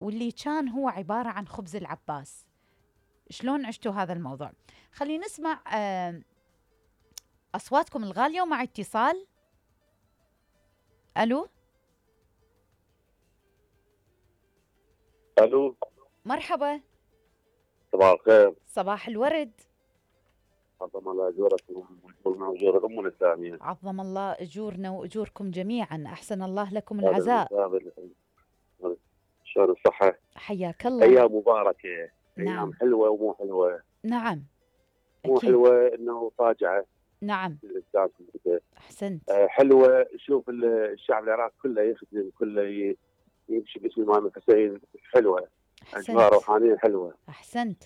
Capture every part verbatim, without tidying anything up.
واللي كان هو عبارة عن خبز العباس. شلون عشتوا هذا الموضوع؟ خلينا نسمع آه أصواتكم الغالية ومع اتصال. ألو الو، مرحبا. صباح الخير. صباح الورد. عظم الله اجورك واجور الامه الاسلاميه. عظم الله اجورنا واجوركم جميعا، احسن الله لكم العزاء. شلون الصحه؟ حياك الله. ايام مباركه. نعم. ايام حلوه ومو حلوه. نعم مو أكيد. حلوه انه فاجعه. نعم الانسان احسنت. آه حلوه، شوف الشعب العراقي كله يخدم، كله يمشي باسم الامام الحسين. حلوه، اجواء روحانيه حلوه. احسنت.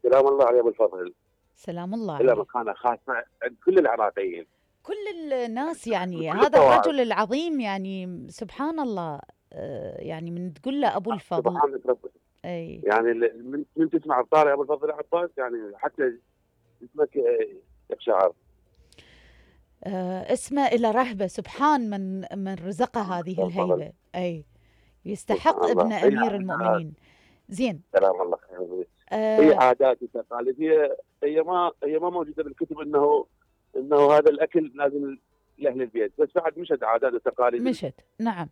سلام الله عليه ابو الفضل. سلام الله إلى عليه. مكانه خاصه عند كل العراقيين، كل الناس يعني كل هذا الطوائف. الرجل العظيم يعني سبحان الله. آه يعني من تقول له ابو الفضل. سبحانك ربي. اي يعني من, من تسمع الطاري ابو الفضل العباس يعني حتى اسمك يقشعر. آه اسمه الى رهبه، سبحان من من رزقه هذه الهيبه. اي يستحق ابن امير المؤمنين. زين. سلام الله خير. آه هي عادات وتقاليد، هي هي ما هي ما موجوده بالكتب انه انه هذا الاكل لازم لاهل البيت، بس بعد مشت عادات وتقاليد. مشت نعم.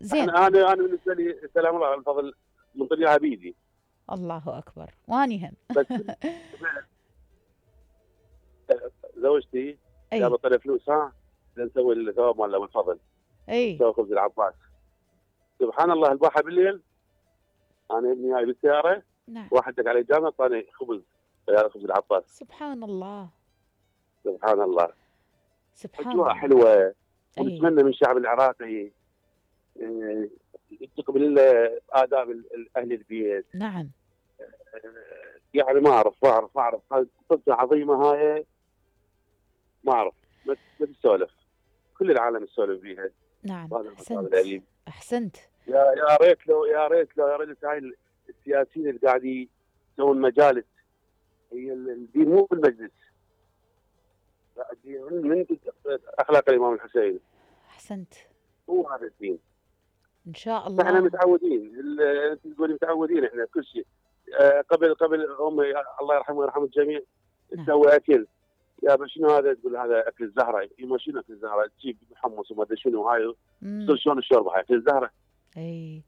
زين. انا انا انا بالنسبه لي سلام الله على الفضل من طريقها بيدي. الله اكبر. واني هم. بس زوجتي جابت طلع فلوس، ها نسوي الثواب مال ابو الفضل. اي نسوي خبز العباس. سبحان الله البارحه بالليل انا ابني جاي بالسياره. نعم. واحد دق علي جامع اعطاني خبز، سياره خبز العباس. سبحان الله. سبحان الله. سبحان اجواء الله. حلوه. ونتمنى من الشعب العراقي يتقبل آداب أهل البيت. نعم. يعني ما أعرف ما أعرف ما أعرف قصة عظيمة هاي، ما أعرف ما تسولف، كل العالم يسولف بيها. نعم أحسنت. أحسنت. يا يا ريت لو يا ريت لو يا ريت هاي السياسيين اللي قاعدين يسوون مجالس، هي الدين مو بالمجلس، الدين من أخلاق الإمام الحسين. أحسنت. هو هذا الدين ان شاء الله. احنا متعودين، انت تقولي متعودين احنا كل شيء. آه قبل قبل امي الله يرحمه ويرحم الجميع تسوي اكل، يا شنو هذا؟ تقول هذا اكل الزهره. يما شنو اكل الزهره؟ تجيب محمص وما ادري شنو هاي، تصير شلون الشوربه هاي اكل الزهره. اي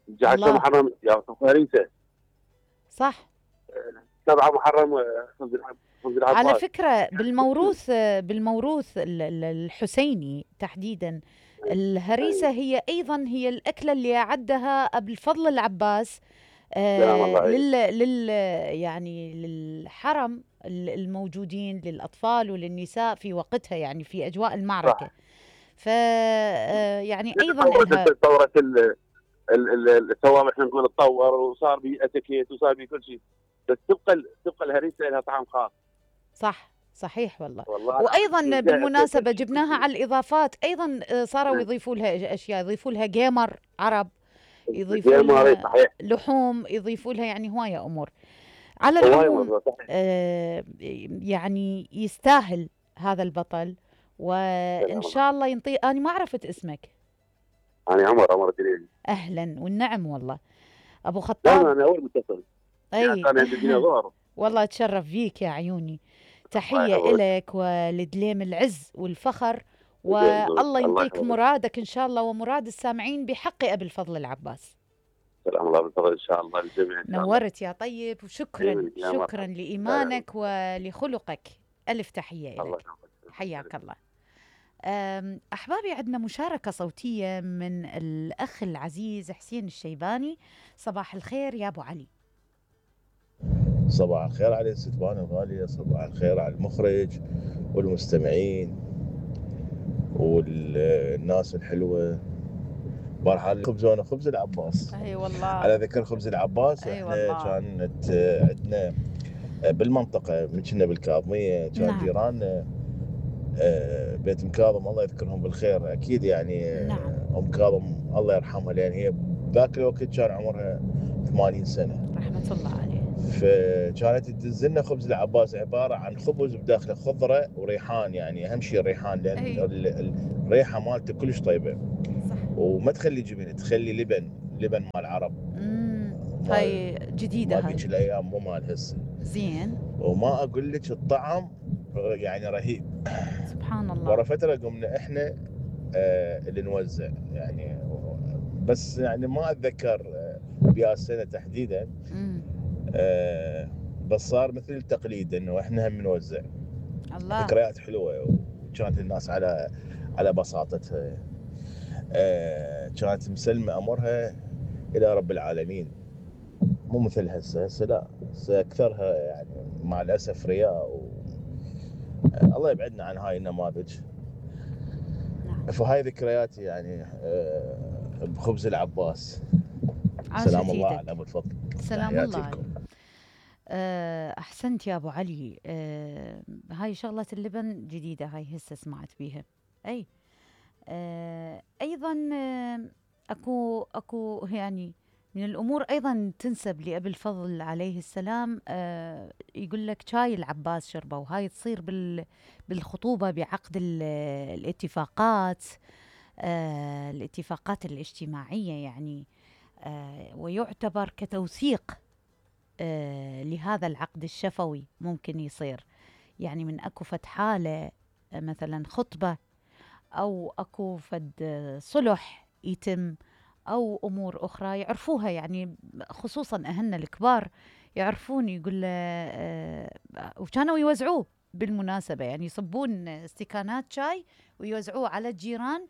جعلتها محرم يا هريسه. صح. سبعه محرم خبز العباس. على فكره بالموروث بالموروث الحسيني تحديدا الهريسة هي أيضا هي الأكلة اللي أعدها أبو الفضل العباس آه لل, لل يعني للحرم الموجودين للأطفال وللنساء في وقتها، يعني في أجواء المعركة. ف يعني أيضا تطورت الثواب، احنا نقول تطور وصار بي اتيكيت وصار بي كل شيء، بس تبقى تبقى الهريسة لها طعم خاص. صح صحيح والله. وايضا بالمناسبه جبناها على الاضافات، ايضا صاروا يضيفوا لها اشياء، يضيفوا لها جيمر عرب، يضيفوا لها لحوم، يضيفوا لها يعني هوايه امور. على العموم آه يعني يستاهل هذا البطل، وان شاء الله ينطي. انا ما عرفت اسمك. انا عمر عمر الدليل. اهلا والنعم والله ابو خطاب. انا اول متصل. اي يعني انا عندي والله اتشرف فيك يا عيوني. تحية إلك ولدليم العز والفخر، والله ينطيك مرادك إن شاء الله ومراد السامعين بحق أبي الفضل العباس. سلام الله بالفضل إن شاء الله الجميع. نورت يا طيب، وشكرا شكرا لإيمانك ولخلقك. ألف تحية إلك. حياك الله. أحبابي عندنا مشاركة صوتية من الأخ العزيز حسين الشيباني. صباح الخير يا أبو علي. صباح الخير على الستبان الغالية، صباح الخير على المخرج والمستمعين والناس الحلوة. مرحبا. خبزونا خبز العباس. اي والله. على ذكر خبز العباس، أي احنا والله. كانت عندنا بالمنطقة من كنا بالكاظمية، كان نعم. جيراننا بيت ام كاظم الله يذكرهم بالخير اكيد يعني. نعم. ام كاظم الله يرحمها، لان هي ذاك الوقت كان عمرها ثمانين سنة رحمة الله عليه. فكانت تدزلنا خبز العباس عباره عن خبز بداخله خضره وريحان، يعني اهم شيء الريحان، لان الريحه مالته كلش طيبه. صح. وما تخلي جبن، تخلي لبن لبن مال العرب. امم هاي جديده مال هاي. ذيك الايام مو مال هسه. زين. وما اقول لك الطعم يعني رهيب. سبحان الله. ورا فتره قمنا احنا آه اللي نوزع يعني، بس يعني ما اتذكر آه بيا السنه تحديدا. امم آه بس صار مثل التقليد انه احنا هم نوزع. الله. ذكريات حلوه، وكانت الناس على على بساطتها. آه كانت مسلمه امرها الى رب العالمين، مو مثل هسه. هسه لا، هسه اكثرها يعني مع الاسف رياء و... آه الله يبعدنا عن هاي النماذج. نعم. فهاي ذكرياتي يعني آه بخبز العباس. عاشت سلام الله ايدك. على ابو الفضل. سلام تحياتي الله لكم. عليك. أه احسنت يا ابو علي. أه هاي شغله اللبن جديده، هاي هسه سمعت بيها. اي أه ايضا أه اكو اكو يعني من الامور ايضا تنسب لابي الفضل عليه السلام. أه يقول لك شاي العباس شربه، وهاي تصير بال بالخطوبه بعقد الاتفاقات، أه الاتفاقات الاجتماعيه يعني. أه ويعتبر كتوثيق آه لهذا العقد الشفوي. ممكن يصير يعني من اكو فد حالة آه مثلا خطبة، او اكو فد آه صلح يتم، او امور اخرى يعرفوها يعني، خصوصا اهلنا الكبار يعرفون. يقول له آه وكانوا يوزعوه بالمناسبة، يعني يصبون استكانات شاي ويوزعوه على الجيران.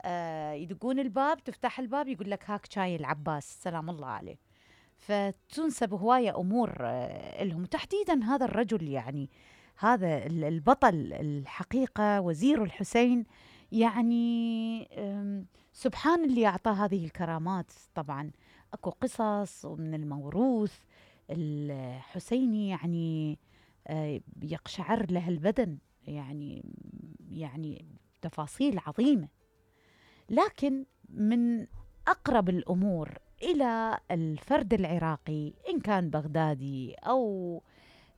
آه يدقون الباب، تفتح الباب يقول لك هاك شاي العباس سلام الله عليه. فتنسب هواية أمور لهم تحديدا. هذا الرجل يعني، هذا البطل الحقيقة، وزير الحسين، يعني سبحان اللي أعطاه هذه الكرامات. طبعا أكو قصص من الموروث الحسيني يعني يقشعر له البدن، يعني يعني تفاصيل عظيمة. لكن من أقرب الأمور إلى الفرد العراقي، إن كان بغدادي أو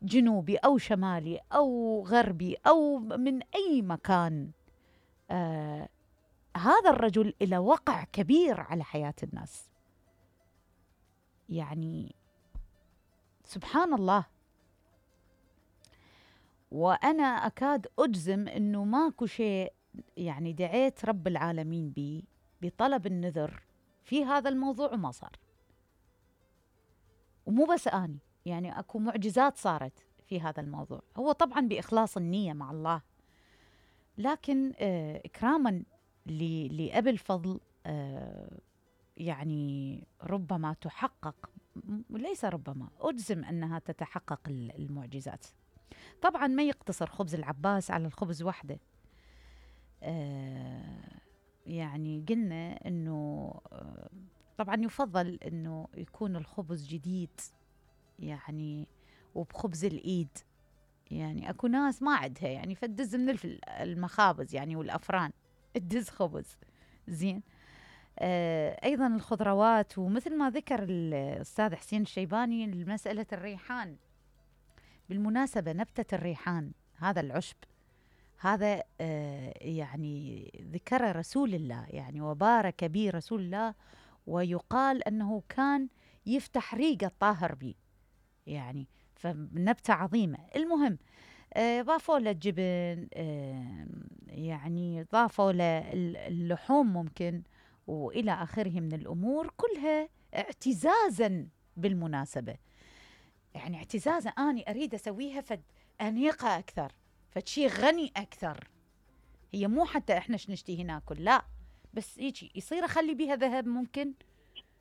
جنوبي أو شمالي أو غربي أو من أي مكان، آه هذا الرجل له وقع كبير على حياة الناس. يعني سبحان الله. وأنا أكاد أجزم أنه ماكو شيء يعني دعيت رب العالمين بي بطلب النذر في هذا الموضوع وما صار. ومو بس أني، يعني أكو معجزات صارت في هذا الموضوع. هو طبعا بإخلاص النية مع الله، لكن آه إكراما لأبي الفضل آه يعني ربما تحقق، ليس ربما، أجزم أنها تتحقق المعجزات. طبعا ما يقتصر خبز العباس على الخبز وحده. آه يعني قلنا أنه آه طبعا يفضل أنه يكون الخبز جديد يعني، وبخبز الإيد. يعني أكو ناس ما عندها يعني فتدز من المخابز يعني والأفران تدز خبز زين. آه أيضا الخضروات، ومثل ما ذكر الأستاذ حسين الشيباني مسألة الريحان. بالمناسبة نبتة الريحان، هذا العشب، هذا آه يعني ذكر رسول الله يعني، وبارك به رسول الله، ويقال أنه كان يفتح ريق الطاهر به يعني، فنبتة عظيمة. المهم آه ضافوا له الجبن، آه يعني ضافوا له اللحوم ممكن، وإلى آخره من الأمور كلها اعتزازا بالمناسبة. يعني اعتزازا، أنا أريد أسويها فد أنيقة أكثر، فشي غني أكثر. هي مو حتى إحنا شنشتي ناكل، لا، بس هيجي يصير أخلي بيها ذهب ممكن.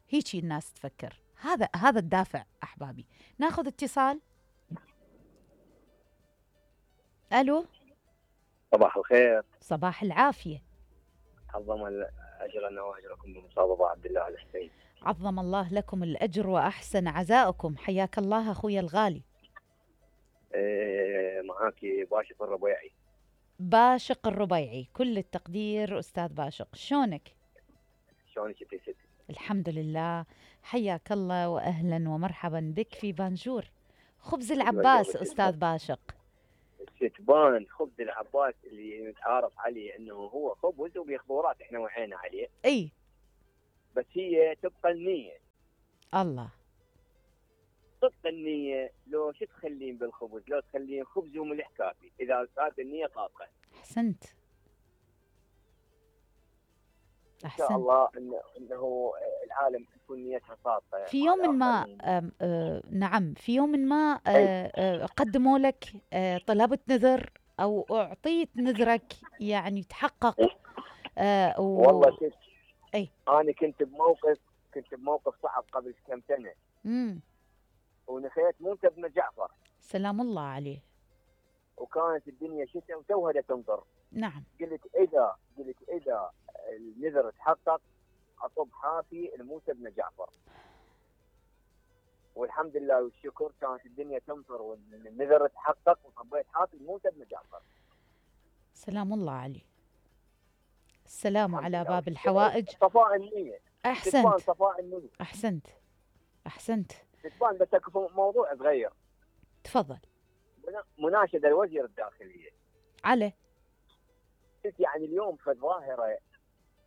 هيجي الناس تفكر. هذا هذا الدافع أحبابي. ناخذ اتصال. ألو. صباح الخير. صباح العافية. عظم أجرنا وأجركم بمصابة عبد الله الحسين. عظم الله لكم الأجر وأحسن عزاءكم. حياك الله أخويا الغالي. إيه معاكي باشق الربيعي. باشق الربيعي، كل التقدير أستاذ باشق. شلونك؟ شلونك انتي ستي؟ الحمد لله. حياك الله وأهلا ومرحبا بك في بانجور. خبز العباس أستاذ باشق. ستبان خبز العباس اللي نتعارف عليه انه هو خبز وبخضورات احنا وعينا عليه. اي بس هي تبقى النيه. الله. صدق النيه، لو شو تخلين بالخبز؟ لو تخلين خبز وملح كافي اذا كانت النيه صادقه. احسنت. ان شاء الله انه انه العالم تكون نيتها صادقه. في يوم ما آه آه نعم في يوم ما آه آه قدموا لك آه طلبت نذر او اعطيت نذرك يعني تحقق؟ آه و... والله كنت اي انا كنت بموقف كنت بموقف صعب قبل كم سنه. امم ونخيت موسى بن جعفر سلام الله عليه. وكانت الدنيا شتاء وتوها تمطر. نعم. قلت اذا قلت اذا النذر تحقق اصب حافي لموسى بن جعفر. والحمد لله والشكر كانت الدنيا تمطر والنذر تحقق وصبيت حافي لموسى بن جعفر. سلام الله عليه. السلام على باب الحوائج. صفاء النية. احسنت. صفاء النية. احسنت احسنت. تتبان. بس موضوع صغير. تفضل. مناشدة الوزير الداخلية. على. يعني اليوم في الظاهرة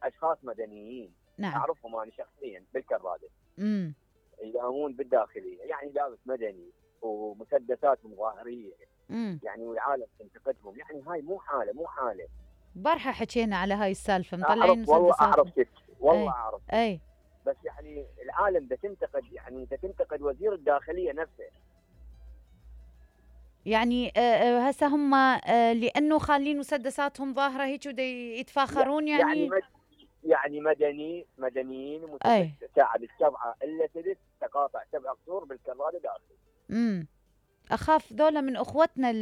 اشخاص مدنيين. نعم. اعرفهم انا شخصيا بالكرادة. امم يقامون بالداخلية، يعني لابس مدني ومسدسات مظاهرية. امم يعني والعالم تنتقدهم، يعني هاي مو حالة مو حالة. بارحة حكينا على هاي السالفة، مطلعين مسدسات. والله اعرف ست. والله أي. اعرف. اي. بس يعني العالم ده تنتقد، يعني ده تنتقد وزير الداخلية نفسه. يعني آه هسه هم آه لانه خالين مسدساتهم ظاهرة هيك ودي يتفاخرون يعني. يعني مد يعني مدني مدنيين ومسدسات ساعد السبعة الا سدس تقاطع سبع قصور بالكرادة داخل. امم اخاف ذولا من اخوتنا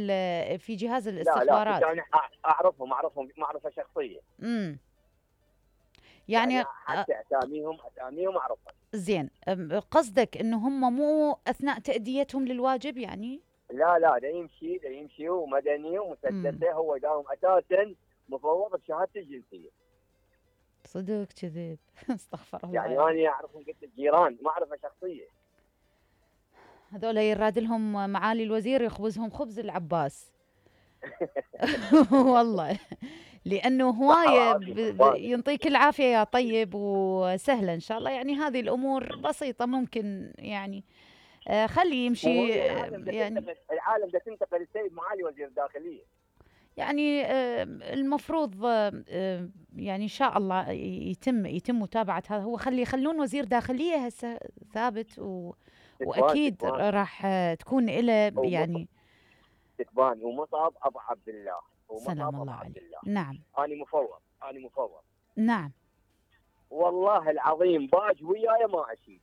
في جهاز الاستخبارات. لا لا انا اعرفهم اعرفهم معرفة شخصية. امم يعني, يعني حتى اساميهم اساميهم اعرفها. زين، قصدك انه هم مو اثناء تأديتهم للواجب يعني؟ لا لا ده يمشي ده يمشي ومدني ومسدسه. هو داوم اساسا مفوض بشهادته الجنسيه. صدق كذب. استغفر الله. يعني انا اعرفهم قلت الجيران معرفه شخصيه. هذول يراد لهم معالي الوزير يخبزهم خبز العباس. والله لانه هوايه ينطيك العافيه يا طيب وسهله ان شاء الله. يعني هذه الامور بسيطه ممكن يعني آه خلي يمشي. يعني العالم ده تنتقل السيد معالي وزير الداخليه. يعني آه المفروض آه يعني ان شاء الله يتم يتم متابعه هذا. هو خلي يخلون وزير داخليه هسه ثابت و واكيد تتبان. راح تكون له يعني تتبان. ومصعب ابو عبد الله. سلام الله عليه. نعم. انا مفوض انا مفوض. نعم. والله العظيم باج وياي ما اشيل.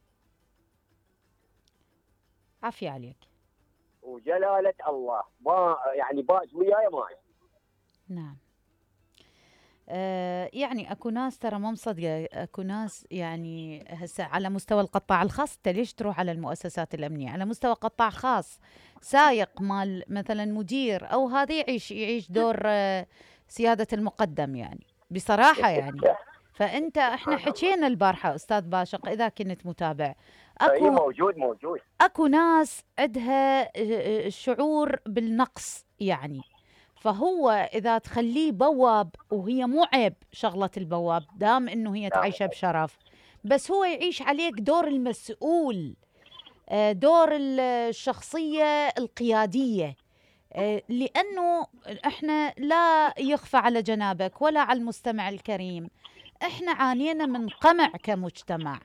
عافية عليك. وجلالة الله ما يعني باج وياي ما اشيل. نعم. آه يعني اكو ناس ترى مو مصدقه. اكو ناس يعني هسه على مستوى القطاع الخاص. انت ليش تروح على المؤسسات الامنيه؟ على مستوى قطاع خاص سايق مال مثلا مدير او هذا يعيش يعيش دور آه سياده المقدم يعني بصراحه يعني. فانت احنا حكينا البارحه استاذ باشق اذا كنت متابع. اكو موجود موجود اكو ناس عندها شعور بالنقص يعني. فهو إذا تخليه بواب، وهي مو عيب شغلة البواب دام إنه هي تعيشه بشرف، بس هو يعيش عليك دور المسؤول، دور الشخصية القيادية. لأنه إحنا لا يخفى على جنابك ولا على المستمع الكريم، إحنا عانينا من قمع كمجتمع.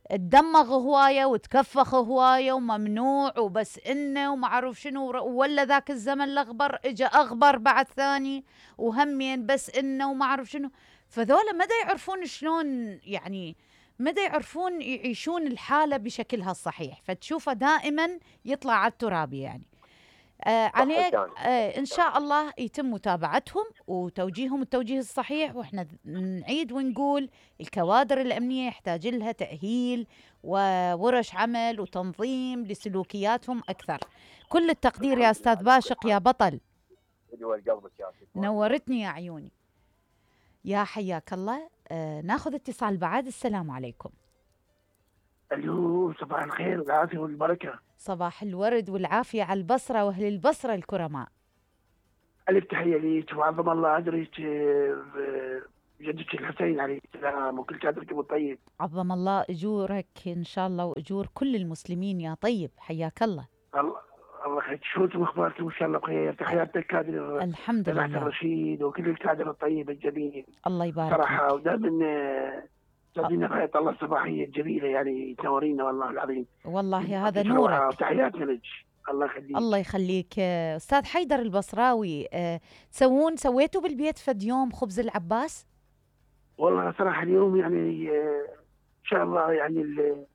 تدمغ هوايه وتكفخ هوايه وممنوع وبس انه وما اعرف شنو. ولا ذاك الزمن الاغبر اجى اغبر بعد ثاني وهمين بس انه وما اعرف شنو. فذولا ما دا يعرفون شلون يعني ما دا يعرفون يعيشون الحاله بشكلها الصحيح. فتشوفه دائما يطلع على التراب يعني. آه عليك آه إن شاء الله يتم متابعتهم وتوجيههم التوجيه الصحيح. وإحنا نعيد ونقول الكوادر الأمنية يحتاج لها تأهيل وورش عمل وتنظيم لسلوكياتهم أكثر. كل التقدير يا أستاذ باشق يا بطل. نورتني يا عيوني. يا حياك الله. آه ناخذ اتصال بعد. السلام عليكم. الو صباح الخير والعافيه والبركه. صباح الورد والعافيه على البصره واهل البصره الكرماء. الف تحيه ليك وعظم الله اجرك جدك الحسين عليه السلام وكل كادركم الطيب. عظم الله اجورك ان شاء الله واجور كل المسلمين يا طيب، حياك الله. الله الله يخليك، شلونكم اخباركم؟ ان شاء الله بخير. تحياتي للكادر الحمد جماعة لله. الرشيد وكل الكادر الطيب الجميل الله يبارك صراحه، لك. ودائما تجينا رحلة الله الصباحيه الجميله، يعني تنورينا والله العظيم. والله هذا يعطيك روعة نورك. وتحياتنا لك. الله يخليك. الله يخليك. آه، استاذ حيدر البصراوي، آه، تسوون سويتوا بالبيت فد يوم خبز العباس؟ والله صراحه اليوم يعني آه، ان شاء الله يعني ال-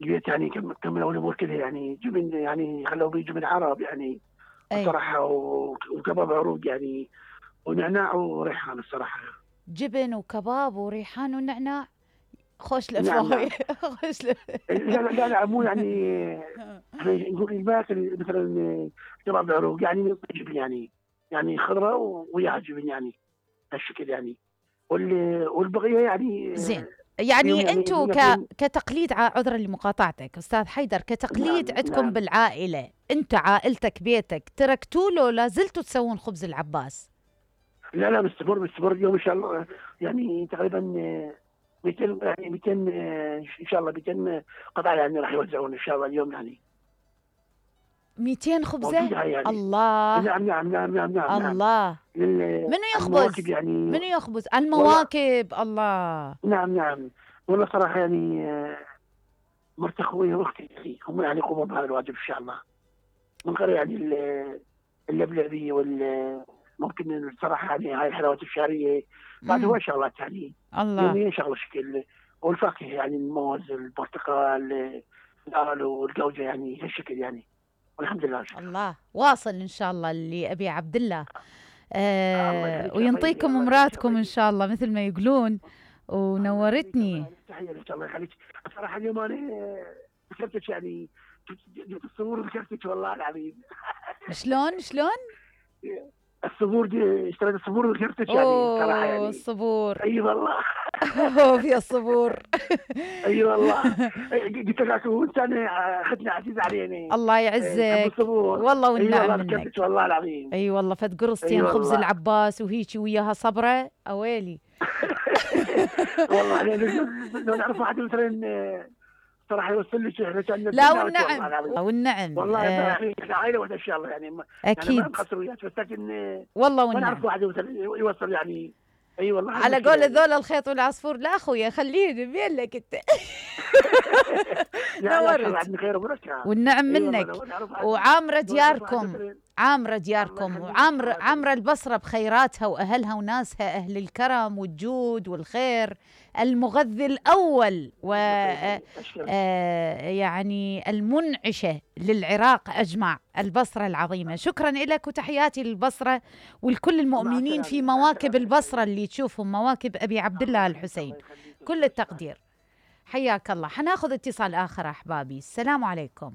البيت يعني كم كملوا الامور كذا، يعني جبن، يعني خلوا بي جبن عرب يعني اي صراحه، وكباب عروق يعني، ونعناع وريحان الصراحه. جبن وكباب وريحان ونعناع، خوش نعم لفاي. نعم. خوش لف... لا لا لا, لا مو يعني احنا نقول الباكل مثلا كباب عروق يعني جبن، يعني يعني خضره وياها جبن يعني هالشكل يعني، وال- والبقيه يعني زين، اليوم يعني يعني انتم ك... نكون. كتقليد ع- عذرا لمقاطعتك استاذ حيدر، كتقليد نعم عندكم نعم. بالعائله، انت عائلتك بيتك تركتوا له لا زلتوا تسوون خبز العباس؟ لا لا مستمر مستمر اليوم ان شاء الله، يعني تقريبا مئتين يعني مئتين ان شاء الله مئتين قطعه يعني راح يوزعون ان شاء الله اليوم يعني مئتين خبزه؟ موجوده يعني. الله. نعم نعم نعم نعم نعم نعم. الله. لل- منو المواكب يخبز؟ يعني. منو يخبز؟ والله المواكب. الله. نعم نعم. والله صراحه يعني آه، مرت اخوي واختي يعني هم يعني يقوموا بهذا الواجب ان شاء الله، من غير يعني ال- اللبلبي وال ممكن الصراحه يعني هاي الحلويات الشهريه بعد هو امم شغلات يعني الله. يوميا شغله شكل، والفاكهه يعني الموز البرتقال الالو والجوجه يعني هالشكل يعني، والحمد لله. الله واصل ان شاء الله اللي ابي عبد الله. الله آه يخليك يا طيب، وينطيكم الله يخليك يا امراتكم ان طيب. شاء الله مثل ما يقولون. الله يخليك، الله ونورتني. يخليك، تحيه لك، الله يخليك. بصراحه اليوم انا ذكرتك يعني، جبت الصبور ذكرتك والله العظيم. شلون شلون؟ الصبور دي اشتريت الصبور وذكرتك يعني صراحه اوه يعني. الصبور. اي والله. اوه في الصبور. اي والله. قلت لك وانت انا اختنا عزيزه علينا. الله تحب يعزك. الصبور. والله اي والنعم والله منك. ذكرتك والله العظيم. اي والله فد اي قرصتين خبز والله. العباس وهيجي وياها صبره اويلي. والله يعني لو لو نعرف واحد مثلا صراحه يوصل لي شيء، احنا كان لا نتمنى والله والنعم العظيم. والنعم. والله آه يعني احنا عائله واحده ان شاء الله يعني ما يعني ما اكيد نقصر وياك، بس لكن والله ما نعرف والنعم. واحد مثلا يوصل يعني. اي والله هذه على المشكله قول يعني. ذول الخيط والعصفور، لا اخويا خليني بين لك انت. لا لا ان شاء الله نورت عندنا خير وبركه. والنعم اي والله منك. لو نعرف واحد وعامرة لو نعرف واحد دياركم، مثلا. عامرة الله دياركم يخليك، وعامرة الله يخليك. عامرة البصرة بخيراتها وأهلها وناسها، أهل الكرم والجود والخير، المغذي الأول و آه، اشكرك. آه، يعني المنعشة للعراق أجمع، البصرة العظيمة. شكرا لك وتحياتي للبصرة ولكل مع المؤمنين في السلامه، مع مواكب السلامه. البصرة اللي تشوفهم مواكب أبي عبد الله الله يخليك، الحسين. الله يخليك. كل التقدير. حياك الله. حناخذ اتصال آخر أحبابي. السلام عليكم.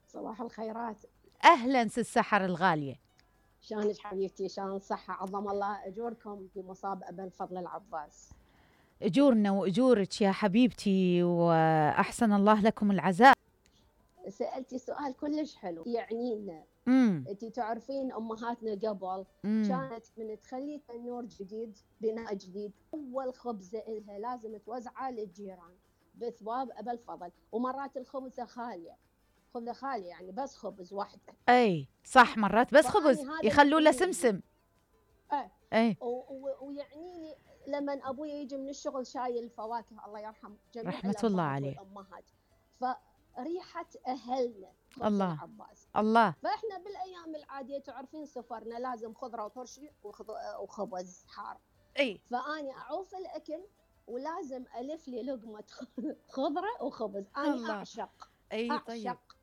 صباح الخيرات. أهلا سي السحر الغالية. شلونك حبيبتي؟ شلون الصحة؟ عظم الله أجوركم في مصاب أبا الفضل العباس. أجورنا وأجورك يا حبيبتي، وأحسن الله لكم العزاء. سألتي سؤال كلش حلو يعنينا. امم أنتي تعرفين أمهاتنا قبل امم كانت من تخلي تنور جديد، بناء جديد، أول خبزة إلها لازم توزعه للجيران بثواب أبا الفضل، ومرات الخبزة خالية، خبزة خالية يعني بس خبز واحدة. أي صح، مرات بس خبز فأني هذا يخلوا له يعنيني. سمسم. إيه. أي و- و- ويعنيني لما ابوي يجي من الشغل شايل الفواكه، الله يرحم جميع رحمة الله الابهات عليه. والامهات، فريحه اهلنا خبز الله. العباس. الله. فاحنا بالايام العاديه تعرفين سفرنا لازم خضره وترشي وخض- وخبز حار، أي فاني اعوف الاكل ولازم الف لي لقمه خضره وخبز. انا الله. اعشق أي طيب. اعشق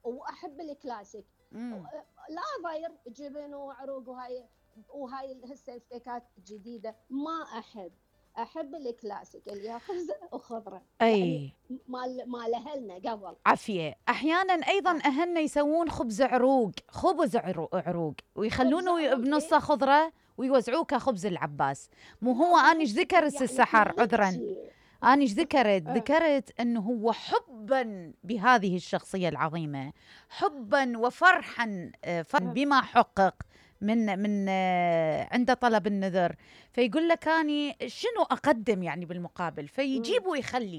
واحب الكلاسيك، مم. لا ضير جبن وعروق وهاي وهاي هسه الفيكات الجديده ما احب، احب الكلاسيك اللي هي خبزه وخضره، يعني أي مال مال اهلنا قبل. عافية. أحيانا أيضا أهلنا يسوون خبز عروق، خبز عرو- عروق ويخلونه خبز عروق، بنصه إيه. خضرة ويوزعوه كخبز العباس. مو هو لا، أنا إيش ذكرت يعني سي السحر؟ كل عذرا شيء. أنا إيش ذكرت؟ آه. ذكرت أنه هو حبا بهذه الشخصية العظيمة، حبا وفرحا آه، فرحاً آه. بما حقق من من آه، عنده طلب النذر، فيقول لك اني شنو اقدم يعني بالمقابل، فيجيب ويخلي.